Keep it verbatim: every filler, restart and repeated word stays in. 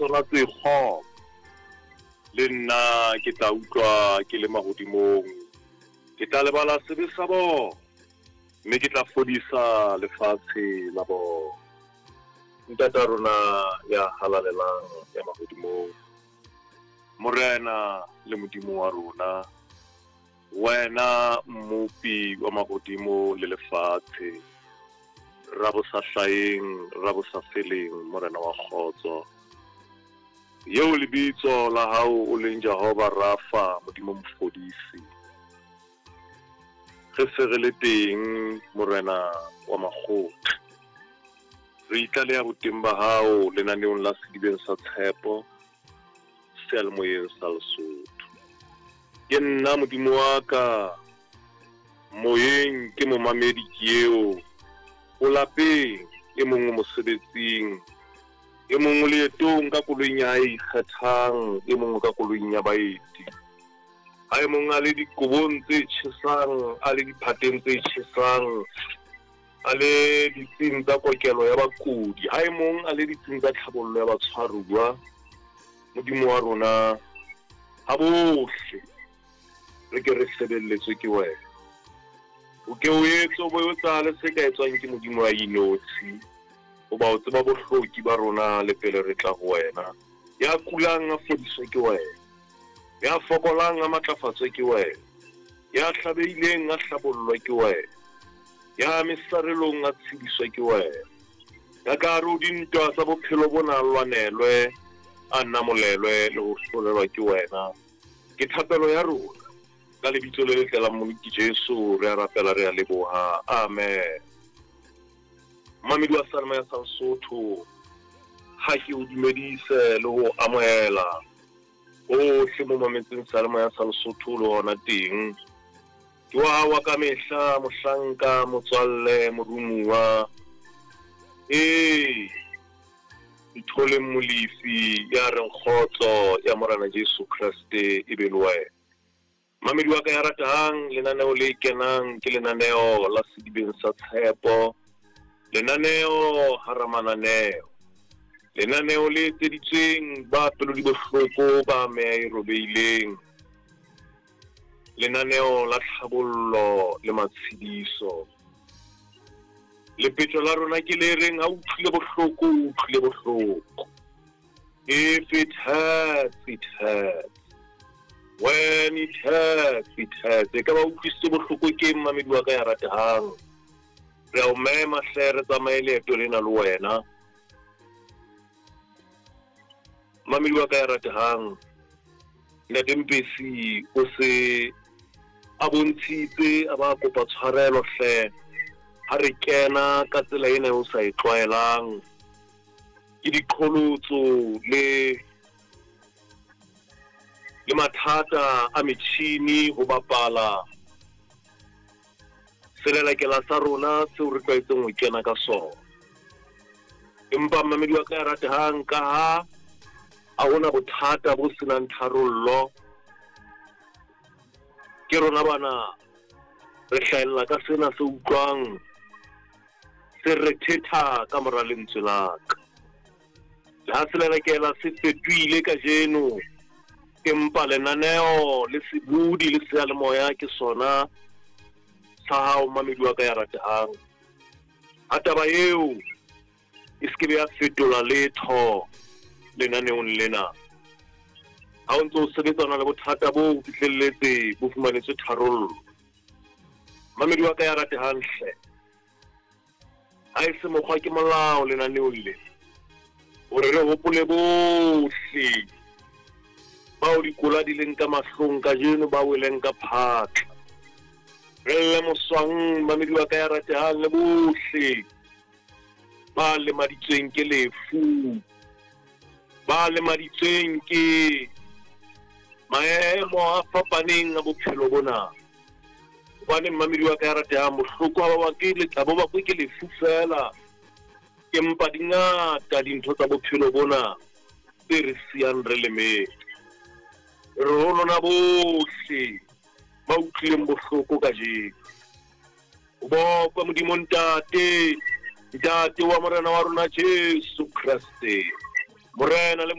sona tse kgopo, le nna ke tla utlwa ke le mahodimong. Ke tla lebala sebe sa bona, mme ke tla fodisa lefatshe la bona. Ntata rona ya halalelang ya mahodimong, Morena le Modimo wa rona, wena mmopi wa mahodimo le lefatshe, ra bo sa hlaheng, ra bo sa feleng, Morena wa kgotso, eo lebitso la hao o leng Jehova Rafa, Modimo mofodisi. Re se re le teng, Morena wa makgotla, re itlaleha boteng ba hao lenaneong la Sedibeng sa Tshepo, seyalemoyeng sa Lesotho. Ke nna Modimo wa ka, moyeng ke momamedi ke eo, o lapeng, e mong o mosebetsing, e mong o leetong ka koloing ya hae e ikgethang, e mong o ka koloing ya baeti. Ha e mong a le dikobong tse tjhesang, a le diphateng tse tjhesang, a le ditsing tsa kokelo ya bakudi, ha e mong a le ditsing tsa tlhabollo ya batshwaruwa. Modimo wa rona, ha bohle re ke re sebelletswe ke wena. O ke o etse o bo o etsahale se ka etswang ke Modimo wa inotshi, hoba o tseba bohloki ba rona le pele re tla ho wena. Ya kulang a fodiswe ke wena, ya fokolang a matlafatswe ke wena, ya hlabehileng a hlabollwe ke wena, ya mesarelong a tshediswe ke wena, ya ka hare ho dintwa tsa bophelo bona a lwanelwe, a namolelwe le ho hlolelwa ke wena. Ke thapelo ya rona ka lebitso le letle la Mmoloki Jesu, re a rapela, re a leboha, amen. Mamedi wa Seyalemoya sa Lesotho, ha ke o dumedise le ho amohela hohle mo mametseng Seyalemoya sa Lesotho le hona teng. Ke wa hao wa kamehla, mohlanka, motswalle, morumuwa, ee, Ntholeng Molefi ya reng kgotso ya Morena Jesu Kreste e be le wena. Mamedi wa ka ya ratang, lenaneo le kenang ke lenaneo la Sedibeng sa Tshepo, lenaneo hara mananeo, lenaneo le etseditsweng ba pelo di bohloko, ba meya e robehileng, lenaneo la tlhabollo le matshediso. Lepetjo la rona ke le reng ha o utlwile bohloko, o utlwile bohloko. If it hurts, it hurts. When it hurts, it hurts. E ka ba utlwisitse bohloko ke mamedi wa ka ya ratehang. Re a o mema hle, re tsamaye leeto lena le wena. Mamedi wa ka ya ratehang, Ntate Mpesi o se a bontshitse, a ba kopa tshwarelo hle ha re kena ka tsela ena o sa e tlwaelang. Ke diqholotso le le mathata a metjhini ho bapala selelekela sa rona seo re tlwaetseng ho kena ka sona. Empa mamedi wa ka ya ratehang, ka ha ha hona bothata bo senang tharollo, ke rona bana re hlahella ka sena se utlwang se re thetha ka mora lentswe la ka. Le ha selelekela se fetohile kajeno, empa lenaneo le sebudi le seyalemoya ke sona sa hao mamedi wa ka ya ratehang. Ha taba eo e se ke be ya fetola letho lenaneong lena. Ha o ntso o sebetsana le bothata bo o fihlelletse bo fumanetswe tharollo, mamedi wa ka ya ratehang hle, ha e se mokgwa ke molao lenaneong le hore re hopole bohle bao dikola di leng ka mahlong kajeno, ba weleng ka phatla. Re lle moswang, mamedi wa ka ya ratehang, le bohle ba lemaditsweng ke lefu, ba lemaditsweng ke maemo a fapaneng a bophelo bona. Hobane mamedi wa ka ya ratehang, bohloko ha ba bakwe le ha bo bakwe ke lefu feela, empa di ngata dintho tsa bophelo bona tse re siyang re lemetse. Re ho lona bohle ba utlwileng bohloko kajeno, o bokwe Modimo Ntate, Ntate wa Morena wa rona Jesu Kreste, Morena le